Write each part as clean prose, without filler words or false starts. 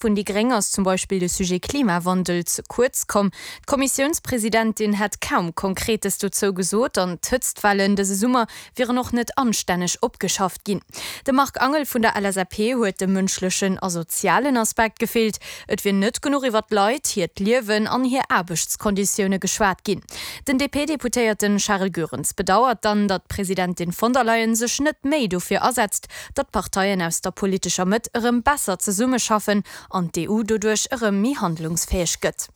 Vun déi Gréng ass zum Beispill de Sujet Klimawandel ze kuerz komm. D'Kommissiounspresidentin hätt kaum Konkretes dozou gesot an d'Hëtztwellen dëse Summer wieren och net anstänneg opgeschafft ginn. Dem Marc Angel vun der LSAP huet de mënschlechen a sozialen Aspekt gefeelt. Et wier net genuch iwwer d'Leit, hiert Liewen an hir Aarbechtskonditioune geschwat ginn. Den DP-Deputéierten Charel Goerens bedauert dann, datt d'Presidentin von der Leyen sech net méi dofir asetzt, datt d'Parteien aus der politescher Mëtt erëm besser zesummeschaffen an d'EU doduerch erëm méi handlungsfäeg gëtt.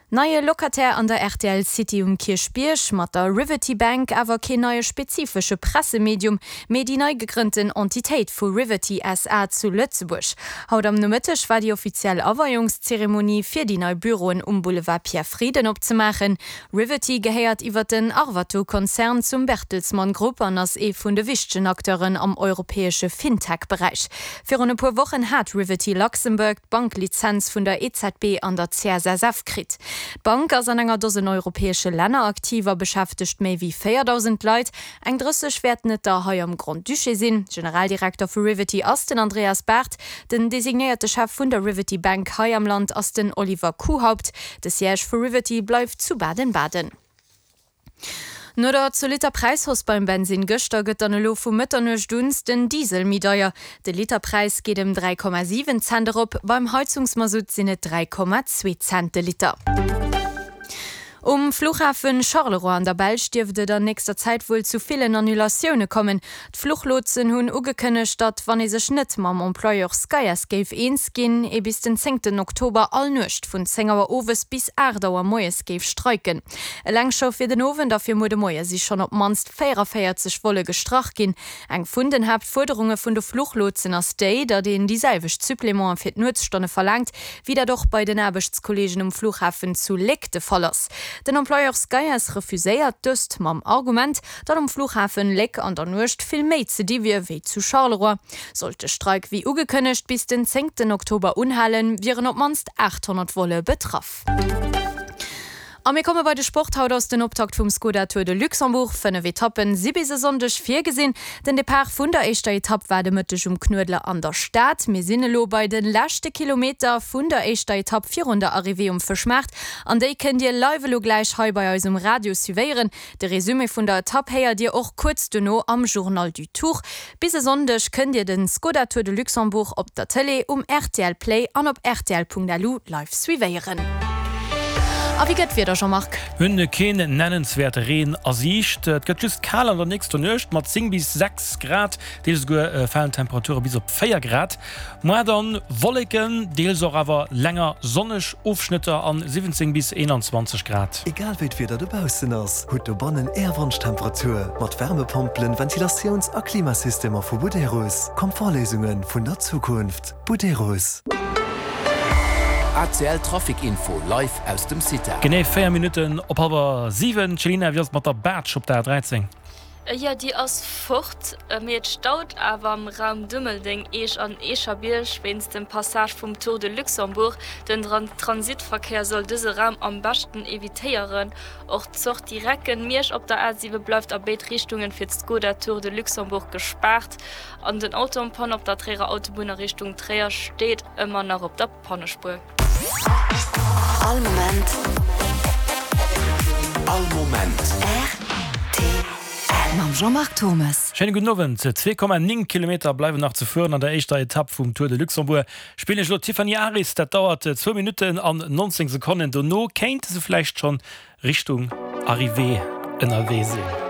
Neie Locataire an der rtl City um Kierchbierg, mat der Riverty Bank awer keen neie spezifesche Pressemedium, mee déi nei gegrënnten Entitéit vu Riverty SA zu Lëtzebuerg. Haut am Nomëtteg war déi offiziell Aweiungszeremonie fir déi nei Büroen um Boulevard Pierre Frieden opzemaachen. Riverty gehéiert iwwer den Arvato-Konzern zum Bertelsmann Grupp an ass ee vun de wichtegen Acteuren am europäesche Fintech-Beräich. Virun e puer Wochen hat Riverty Luxembourg d'Banklizenz vun der EZB an der CSSF kritt. D'Bank ass an enger Dosen europäesche Länner aktiv a beschäftegt méi wéi 4.000 Leit. Eng 30 wäerten et der hei am Grand-Duché sinn. Generaldirekter vu Riverty ass den Andreas Barth. Den designéierte Chef vun der Riverty Bank hei am Land ass den Oliver Kuhaupt. De Siège vu Riverty bleift zu Baden-Baden. No der zolitter Präishausse beim Bensinn gëschter gëtt dann elo vu Mëtternuecht un den Diesel méi deier. De Literpräis geet ëm 3,7 Cent erop, beim Heizungsmasutt sinn et 3,2 Cent de Liter. Um Fluchhafen Charleroi an der Belsch dierft et an nächster Zäit wuel zu villen Annulatioune kommen. D'Fluchlotsen hunn ugekënnegt, datt, wann ee sech net mam Employeur Skyass géif eens ginn, ee bis den zéngten Oktober all Nuecht vun 10 Auer owes bis 8 Auer moies géif streiken. Eleng scho fir den Owend a fir muer de Moie si schonn op d'mannst 44 Volle gestrach ginn. Eng vun den Haaptfuerderunge vun de Fluchlotsen ass déi, datt een déi selwecht Supplémenten fir d'Nuetsstonne verlaangt, wéi dat och bei den Aarbechtskolleegen um Flughafen zu Léck de Fall ass. Den Employeur Skyass refuséiert dëst mam Argument, datt um Flughafen Léck an der Nuecht vill méi ze di wier wéi zu Charleroi. Sollt de Streik wéi ugekënnegt bis den zéngten Oktober unhalen, wieren op d'mannst 800 Volle betraff. A mir komme bei de Sport. Haut ass den Optakt vum Skoda Tour de Luxembourg. 5 Etappen si bis e Sonndeg virgesinn. Den Depart vun der éischter Etapp war de Mëtteg um Knuedler an der Stad. Mir sinn elo bei de leschte Kilometer vun der éischter Etapp virun der Arrivée um Fëschmaart. An déi kënnt Dir live elo gläich hei bei eis um Radio suivéieren. De Resumé vun der Etapp héiert Dir och kuerz dono am Journal du Tour. Bis e Sonndeg kënnt Dir den Skoda Tour de Luxembourg op der Tëlee, um rtl Play an op rtl.lu live suivéieren. A wéi gëtt d'Wieder, Jean-Marc? Mir hunn keen nennenswäerte Reen a Siicht. Et gëtt just kal an der nächster Nuecht mat 10 bis 6 Grad, deels esouguer falen d'Temperature bis op 4 Grad. Moar dann Wolleken, deels och awer länger sonneg Ofschnëtter an 17 bis 21 Grad. Egal wéi d'Wieder dobaussen ass, hutt dobannen Är Wonschtemperatur mat Wärmepompelen, Ventilatiouns a Klimasystemer vu Buderus. Komfortléisunge vun der Zukunft. Buderus. ACL Trafic Info live aus dem CITA. Genee 4 Minutten op hallwer 7. Céline, wéi ass et mat der Baatsch op der A13? Jo, déi ass fort, mee et staut awer am Raum Dummeldeng, Eech an Eecherbierg wéinst dem Passage vum Tour de Luxembourg. Den Transitverkéier soll dëse Raum am beschten evitéieren. Och d'Sortie Recken, Miersch op der A7 bleift a béid Richtungen fir d'Skoda Tour de Luxembourg gespaart an den Auto en panne op der Tréierer Autobunn a Richtung Tréier steet ëmmer nach op der Pannespuer. All Moment. All Moment. Rtl. Mam Jean-Marc Thommes. Schéine gudden Owend. 2,9 Kilometer bleiwen nach ze fueren an der éischter Etapp vum Tour de Luxembourg. Spillen ech elo d'Tiffany Aris. Dat dauert zwou Minutten an 19 Sekonnen. Dono kéinte se vläicht schonn Richtung Arrivée ënnerwee sinn.